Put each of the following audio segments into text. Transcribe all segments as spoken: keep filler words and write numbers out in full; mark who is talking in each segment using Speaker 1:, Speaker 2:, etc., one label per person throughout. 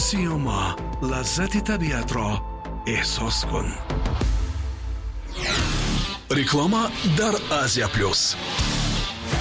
Speaker 1: Сиёма, лаззати табиатро эҳсос кун. Реклама дар Азия Плюс.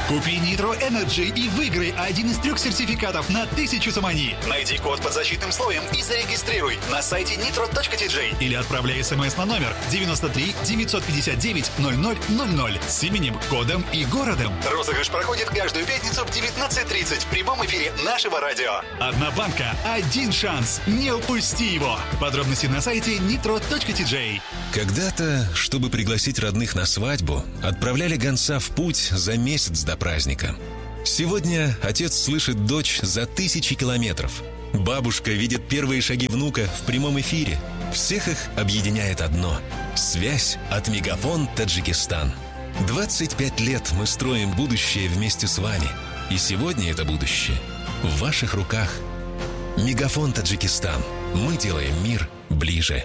Speaker 2: Купи Nitro Energy и выиграй один из трех сертификатов на тысячу сомони. Найди код под защитным слоем и зарегистрируй на сайте nitro точка T J или отправляй смс на номер девяносто три девятьсот пятьдесят девять ноль ноль ноль ноль с именем, кодом и городом. Розыгрыш проходит каждую пятницу в девятнадцать тридцать в прямом эфире нашего радио. Одна банка, один шанс. Не упусти его. Подробности на сайте nitro точка T J.
Speaker 3: Когда-то, чтобы пригласить родных на свадьбу, отправляли гонца в путь за месяц до праздника. Сегодня отец слышит дочь за тысячи километров. Бабушка видит первые шаги внука в прямом эфире. Всех их объединяет одно – связь от Мегафон Таджикистан. двадцать пять лет мы строим будущее вместе с вами. И сегодня это будущее в ваших руках. Мегафон Таджикистан. Мы делаем мир ближе.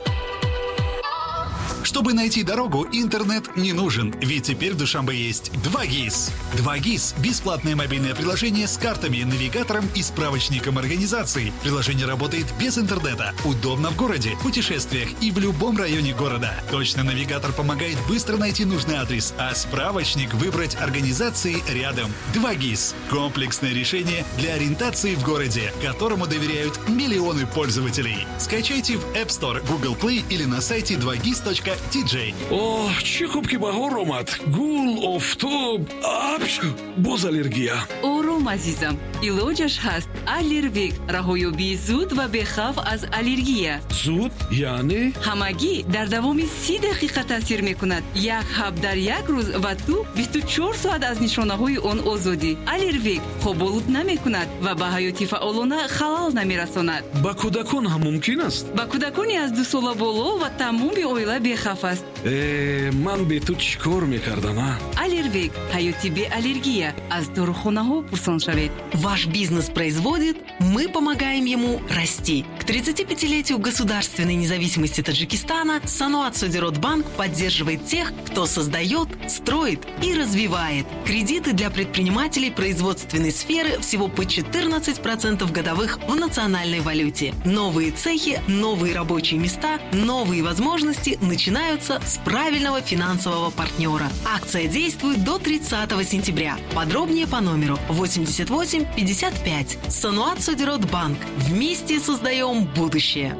Speaker 2: Чтобы найти дорогу, интернет не нужен, ведь теперь в Душанбе есть два ГИС. два ГИС – бесплатное мобильное приложение с картами, навигатором и справочником организаций. Приложение работает без интернета, удобно в городе, путешествиях и в любом районе города. Точно навигатор помогает быстро найти нужный адрес, а справочник – выбрать организации рядом. два ГИС – комплексное решение для ориентации в городе, которому доверяют миллионы пользователей. Скачайте в App Store, Google Play или на сайте два гис точка T J.
Speaker 1: Оҳ, чӣ хуб, ки баҳор омад. Гул, офтоб, апч, боз аллергия.
Speaker 4: Ором, азизам, илоҷаш ҳаст. Аллервик – раҳоёбии зуд ва бехавф аз аллергия.
Speaker 1: Зуд яъне?
Speaker 4: Ҳамагӣ дар давоми си дақиқа таъсир мекунад. Як ҳаб дар як рӯз ва ту бисту чор соат аз нишонаҳои он озодӣ. Аллервик хоболуд намекунад ва ба ҳаёти фаъолона халал намерасонад.
Speaker 1: Ба кӯдакон ҳам мумкин аст?
Speaker 4: Ба кӯдакони аз дусола боло ва тамоми оила бехавф аст.
Speaker 1: Э, ман бе ту чӣ кор мекардам, а?
Speaker 4: Аллервик – ҳаёти беаллергия. Аз дорухонаҳо пурсон шавед.
Speaker 5: Ваш бизнес производит, мы помогаем ему расти. К тридцатипятилетию государственной независимости Таджикистана Саноат Содирот Банк поддерживает тех, кто создает, строит и развивает. Кредиты для предпринимателей производственной сферы всего по четырнадцать процентов годовых в национальной валюте. Новые цехи, новые рабочие места, новые возможности начинаются с правильного финансового партнера. Акция действует до тридцатого сентября. Подробнее по номеру восемьдесят восемь пятьдесят пять. Саноат Содирот Банк. Вместе создаем будущее.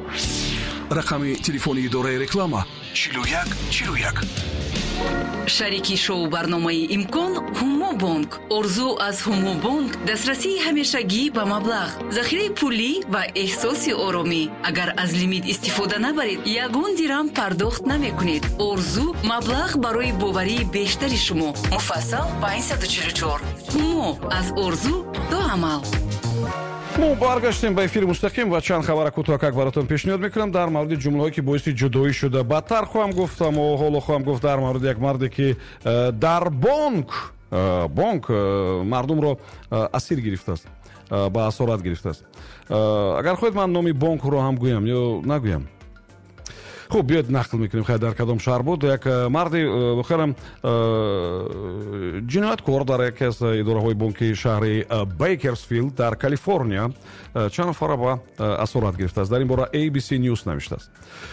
Speaker 1: Рақами телефони идораи реклама: чилу як чилу як.
Speaker 4: Шарики шоу барномаи «Имкон» Ҳумобонк. Орзу аз Ҳумобонк: дастрасии ҳамешагӣ ба маблағ, захираи пулӣ ва эҳсоси оромӣ. Агар аз лимит истифода набаред, ягон дирам пардохт намекунед. Орзу: маблағ барои боварии бештари шумо. Муфассал панҷсаду чилу чор. Ҳумо: аз орзу то амал.
Speaker 6: Мо баргаштем ба эфири мустақим ва чанд хабара кӯтоҳакак баротон пешниҳод мекунам дар мавриди ҷумлаҳое, ки боиси ҷудоӣ шуда. Баъдтар хоҳам гуфт, аммо ҳоло хоҳам гуфт дар мавриди як марде, ки э, дар бонк э, бонк э, мардумро асир гирифтааст, ба асорат гирифтааст. Агар хоҳед, ман номи бонкро ҳам гӯям ё нагӯям? Хуб, биёед, нақл мекунем. Хай, дар кадом шаҳр буд, як э, марди э, воқеан э, ҷинояткор дар яке аз идораҳои бонки шаҳри Бейкерсфилд дар Калифорния чанд нафара ба асорат гирифтааст. Дар ин бора A B C News навиштааст.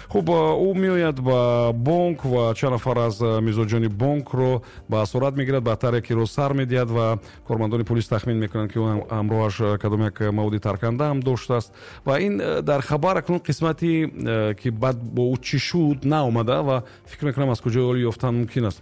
Speaker 6: Хуб, ӯ меояд ба бонк ва чанд нафар аз мизоҷони бонкро ба асорат мегирад, баъдтар якеро сар медиҳад ва кормандони полис тахмин мекунанд, ки ӯ ҳамроҳаш кадом як маводи тарканда ҳам доштааст. Ва ин дар хабар акнун қисмати, ки баъд бо ӯ чӣ шуд, наомада ва фикр мекунам, аз куҷои оли ёфтан мумкин аст.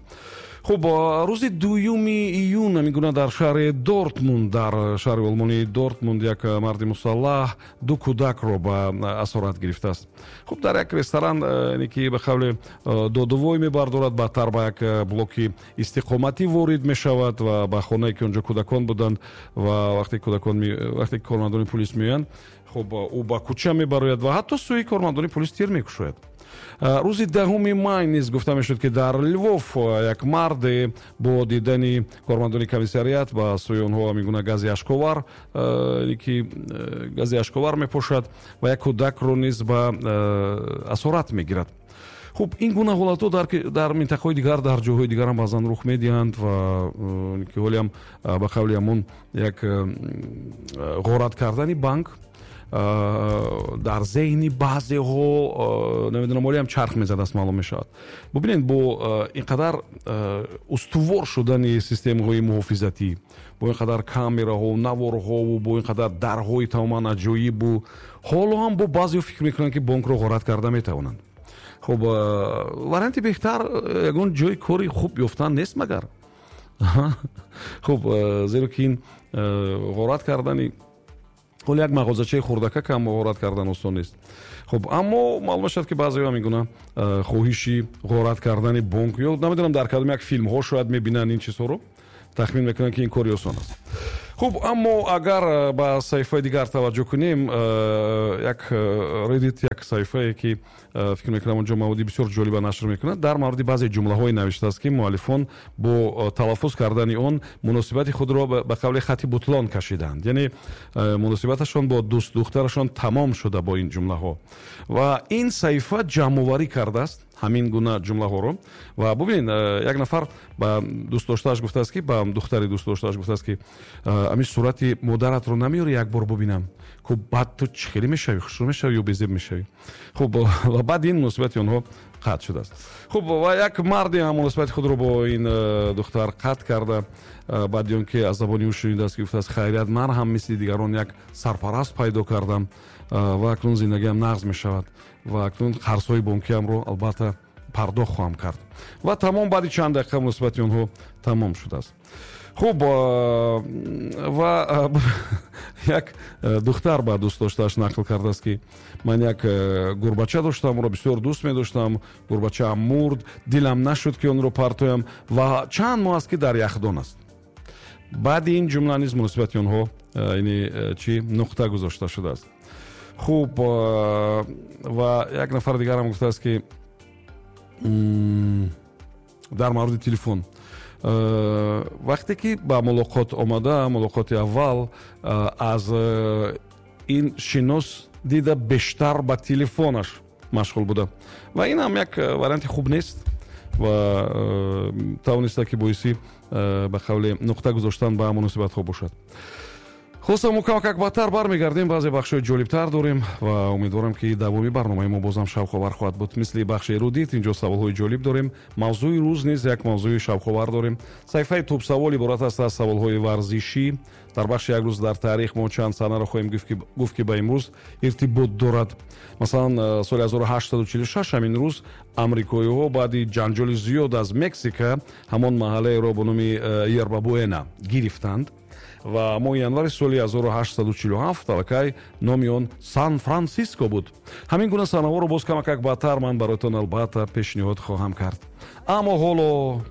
Speaker 6: Хуб, рӯзи дуюми июн ҳамин гуна дар шаҳри Дортмунд, дар шаҳри олмонии Дортмунд, як марди мусаллаҳ ду кӯдакро ба асорат гирифтааст. Хуб, дар як ресторан, яъне ки ба қавли додувой мебардорад, баъдтар ба як блоки истиқоматӣ ворид мешавад ва ба хонае, ки онҷо кӯдакон буданд. Ва вақте кӯдакон вақте кормандони полис меоянд, хуб, ӯ ба кӯча мебарояд ва ҳатто сӯи кормандони полис тир мекушояд. Рӯзи даҳуми май низ гуфта мешуд, ки дар Львов як марде бо дидани кормандони комиссариат ба сӯи онҳо ҳамин гуна гази ашковар, ки гази ашковар мепошад ва як кӯдакро низ ба асорат мегирад. Хуб, ин гуна ҳолатҳо дар минтақаҳои дигар, дар ҷойҳои дигарам баъзан рух медиҳанд ва ки ҳолиам ба қавли ҳамон як ғорат кардани банк. дар зеҳни баъзеҳо намедонам олиам чарх мезадааст, маълум мешавад. Бубинед, бо ин қадар устувор шудани системаҳои муҳофизатӣ, бо ин қадар камераҳо, наворҳову бо ин қадар дарҳои тамоман аҷоибу, ҳоло ҳам бо баъзеҳо фикр мекунанд, ки бонкро ғорат карда метавонанд. Хуб, варианти беҳтар ягон ҷои кори хуб ёфтан нест магар? Хуб, зеро ки ин ғорат кардани ҳоло як мағозачаи хурдакак ҳам ғорат кардан осон нест. Хуб, аммо маълум мешавад, ки баъзеҳо мегӯнанд хоҳиши ғорат кардани бонк ё намедонам дар кадом як филмҳо шояд мебинанд ин чизҳоро, тахмин мекунанд, ки ин кори осон аст. Хуб, аммо агар ба саҳифаи дигар таваҷҷӯҳ кунем, як Reddit, як саҳифае ки фикр мекунам онҷо маводи бисёр ҷолиба нашр мекунад, дар мавриди баъзе ҷумлаҳое навиштааст, ки муаллифон бо талаффуз кардани он муносибати худро ба қавли хати бутлон кашиданд. Яъне муносибаташон бо дӯстдухтарашон тамом шуда бо ин ҷумлаҳо. Ва ин саҳифа ҷамъоварӣ кардааст ҳамин гуна ҷумлаҳоро. Ва бубинед, як нафар ба дӯстдоштааш гуфтааст, ки ба духтари дӯстдоштааш гуфтааст, ки ҳамин сурати модаратро намеёрӣ як бор бубинам? Хуб, баъд ту чӣ хеле мешавӣ, хушрӯ мешавӣ ё безеб мешавӣ? Хуб, ва баъд ин муносибати онҳо қатъ шудааст. Хуб, ва як марде ҳам муносибати худро бо ин духтар қатъ карда, баъди он ки аз забони ӯ шунидааст, ки гуфтааст: хайрият, ман ҳам мисли дигарон як сарпараст пайдо кардам ва акнун зиндагиам нағз мешавад ва акнун қарзҳои бонкиамро албатта пардохт хоҳам кард. Ва тамом, баъди чанд дақиқа муносибати онҳо тамом шудааст. Хуб, ва як духтар ба дӯстдоштааш нақл кардааст, ки ман як гурбача доштам, ӯро бисёр дӯст медоштам, гурбачаам мурд, дилам нашуд, ки онро партоям ва чанд моҳ аст, ки дар яхдон аст. Баъди ин ҷумла низ муносибати онҳо яъне чӣ нуқта гузошта шудааст. Хуб, ва як нафар дигарам гуфтааст, ки дар мавриди телефон, вақте ки ба мулоқот омада, мулоқоти аввал, аз ин шинос дида бештар ба телефонаш машғул буда ва ин ҳам як варианти хуб нест ва тавониста, ки боиси ба қавли нуқта гузоштан ба муносибатҳо бошад. Хулоса, мо камакак баъдтар бармегардем, баъзе бахшҳои ҷолибтар дорем ва умедворам, ки давоми барномаи мо бозам шавқовар хоҳад буд. Мисли бахши Эрудит инҷо саволҳои ҷолиб дорем, мавзӯи рӯз низ як мавзӯи шавқовар дорем. Саҳифаи тӯбсавол иборат аст аз саволҳои варзишӣ. Дар бахши як рӯз дар таърих мо чанд саҳнаро хоҳем гуфт, ки ба имрӯз иртибот дорад. Масалан, соли ҳазору ҳаштсаду чилу шаш ҳамин рӯз амрикоиҳо баъди ҷанҷоли зиёд аз Мексика ҳамон маҳаллаеро бо номи Ербабуэна гирифтанд ва моҳи январи соли ҳазору ҳаштсаду чилу ҳафт аллакай номи он Сан-Франсиско буд. Ҳамин гуна саҳнаҳоро боз камакак баъдтар ман бароятон албатта пешниҳод хоҳам кард. Аммо ҳоло